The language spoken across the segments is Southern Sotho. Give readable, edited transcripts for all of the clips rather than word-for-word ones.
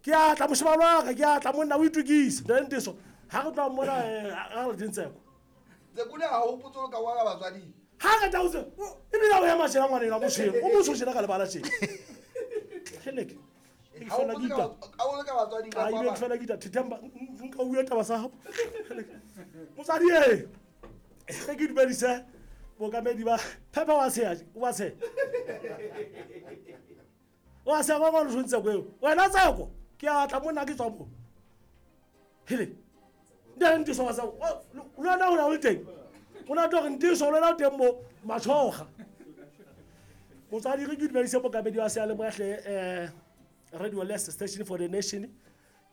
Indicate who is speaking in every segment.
Speaker 1: Ke a tla moshemane wa ka, ke a tla monna o itukise. Ntate Nteso, ha re tloha mona ha re lateng Tseko.
Speaker 2: Tseko ne ha hopotse o ka wala batswading.
Speaker 1: Ha ka tla o tse, ebile o ema tjena ngwana enwa motho o motsho tjena ka lebala tjena. Heleke. Ke fela ke ita.
Speaker 2: A o le ka batswading
Speaker 1: ka kwa. Fela ke ita thethemba nka bua taba sa hao. Motswadi e. Ge ke dumedise bookamedi ba Phepa wa tsheha, wa tsheha. Wa tsheha ba ba le tseko eo. Wena Tseko, ke a tla monna ke tswa mo. Hele. Nte Ntiso wa tseko. Le wena o na o le teng. O na tlo re Ntiso le wena o teng mo matshoga. Motswadi re ke dumedise bookamedi ba seyalemoya hle Radio Less Station for the Nation.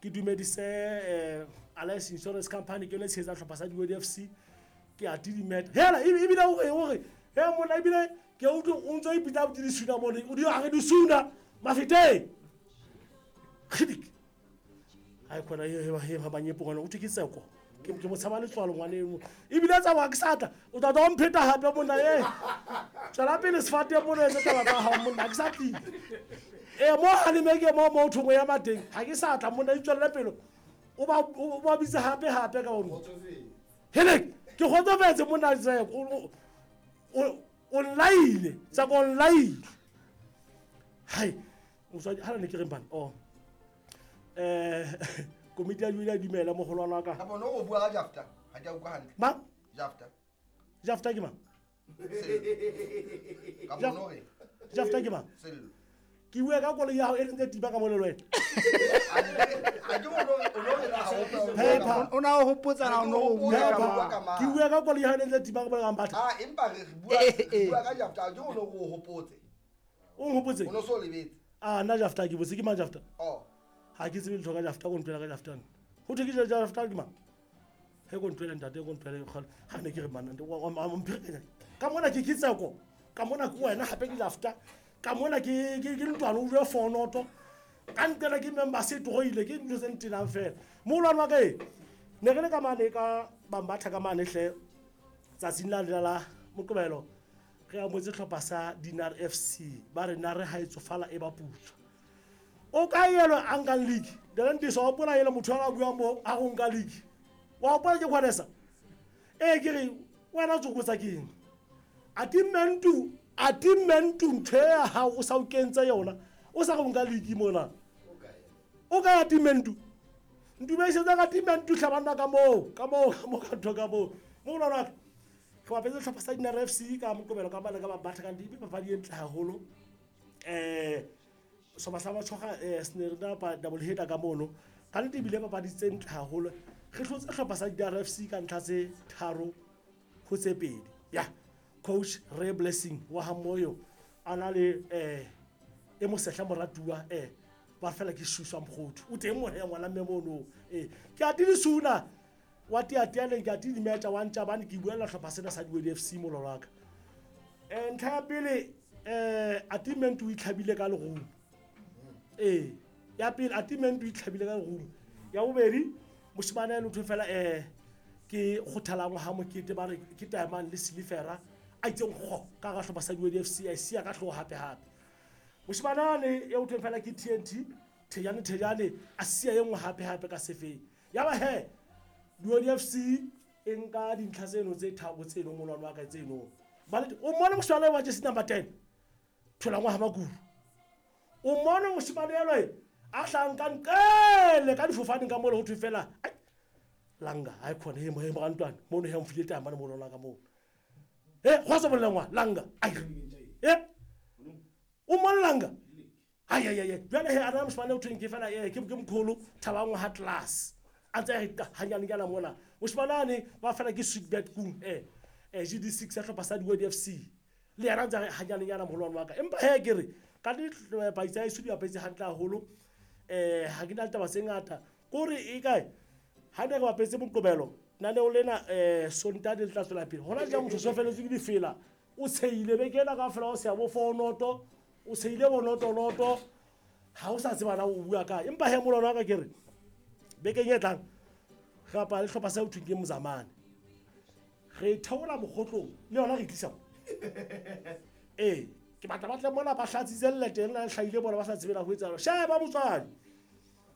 Speaker 1: Ke dumedise Alliance Insurance Company ke yone tshehetsa hlopha sa Diwedi FC. Ke a tidimeta. Hela ebile o re o re he monna ebile ke utlwe o ntso ipitsa botse disuna mone o di a re disuna mafeteng. Khidik. Ai khona he he ba nyepo ngwana o thwe ke Tseko. Ke mo tshaba letswalo ngwana eno. Ebile tsa wa ke sa tla o tla tla mpheta hape monna e. Tswela pele sefate mona etse taba tsa hao monna ke sa tlile. E mo haleme ke mo mo thongwe ya mateng ha ke sa tla monna itswelle pele. O ba bitse hape hape ka ona. Hele ke kgotsofetse monna Tseko o nlaile Tseko o nlaile. Hai motswadi ha ne ke reng bana oh komiti ya Julia dumela mogolwana wa ka.
Speaker 2: Ka bona o bua ka Jafta ha ke a utlwa hantle.
Speaker 1: Mang?
Speaker 2: Jafta.
Speaker 1: Jafta ke mang?
Speaker 2: Ka bona hore
Speaker 1: Jafta ke mang?
Speaker 2: Sello.
Speaker 1: Ke bua ka koloi ya hao e leng tse tiba ka mole le wena. Phepa.
Speaker 3: O na o hopotsa na o no o bua ka mang?
Speaker 1: Ke bua ka koloi ya hao e leng tse tiba ka mole ka mbatha.
Speaker 2: Ah empa re bua ka Jafta ke o no o hopotse.
Speaker 1: O nhopotse?
Speaker 2: O no so lebetse.
Speaker 1: Ah nna Jafta ke botse ke mang Jafta?
Speaker 2: Oh.
Speaker 1: Ha ke tsebe letho ka Jafta ko ntwela ka Jafta. Ho thwe ke Jafta ke mang? He ko ntwele ntate ko ntwele kgale. Ha ne ke re manna wa mpherekanya. Ka mona ke Tseko. Ka mona ke wena hape ke Jafta. Ka mona ke ntwana o bue fonoto. Ka ntela ke member se tloile ke ntho tse ntenang fela. Moholwane wa ka e ne re le ka mane ka Bambatha ka mane hle tsatsing la lela la Moqebelo re amotse hlopha sa Dinar FC ba re nare ha e tsofala e ba putswa. O ka elo a nkang league. Dela Ntiso wa hopola ele motho a buang mo a go nka league. Wa hopola ke kgwanesa? Ee ke re wena tsokotsa ke eng? Atimentu ntho ya hao o sa o kentse yona. O sa go nka league mona. O ka atimentu. Ntumedisetsa ka atimentu tlhabana ka moo, ka moo, ka moo ka ntho ka moo. Mo lona re bapetse hlopha sa Dinar FC ka Moqebelo ka mane ka Bambatha ka dibe papadi e ntle haholo. Sehlopha sa Matshoga se ne re na pa double header ka mono. Ka nnete ebile papadi tse ntle haholo. Re hlotse hlopha sa Dinar FC ka ntlha tse 3 ho tse 2. Ya coach Ray Blessing wa ha Moyo a na le e mosehla moratuwa ba fela ke Shuswa Mokgothu. O teng mona ya ngwana mme mono. Ke a tidisuna wa tiatianeng ke a tidimetsa wa ntja bane ke buella hlopha sena sa Diwedi FC mololo wa ka. Ntlha ya pele Atimentu o itlhabile ka lerumo. Ya pele Atimentu o itlhabile ka lerumo. Ya bobedi moshemane a lotho fela ke kgothalang ha mokete ba re ke Diamond le Silifera a itseng go ka ga hlopha sa Diwedi FC a sia ka hloho hape hape. Moshemane ane ya utlweng fela ke TNT Thejane Thejane a sia e nngwe hape hape ka sefeng. Ya ba he Diwedi FC e nka dintlha tseno tse tharo tseno molwane wa ka tseno. Ba le o mmone moshemane wa jersey number 10 thola ngwa ha Makuru. O mmone moshemane elwe a hlang ka nqele ka difofaneng ka mole ho thwe fela ai langa ha khona he mo he morantwana mono he mfile tama le molwana ka moo. He go sa bolela ngwa langa ai o mmone langa ai ai ai jwale he ana moshemane o thweng ke fela ke mkholo Thabang ha class a ntse a re hanyane kana mona moshemane ane ba fela ke sweetbet kung GD6 ya hlopha sa Diwedi FC le yena ntse hanyane yana moholwane wa ka empa he ke re ka di paitsa e sudi apetse hantle haholo ha ke na le taba tse ngata kore e kae ha ne re bapetse Moqebelo naneo lena Sontaha le tla tswela pele hona jwale motho so feletswe ke difela o tsheile beke ena kaofela o se ya bo fonoto o tsheile bonotonoto ha o sa tseba na o bua kae empa he molwana wa ka ke re bekeng e tlang re bapala le hlopha sa ho thweng ke Mozamane re theola mokgotlong le yona re tlisa mo. Ke batla ba tle mona ba hlatsitse lelete lena le hlahile bona ba sa tsebe na ho etsahala. Sheba motswadi.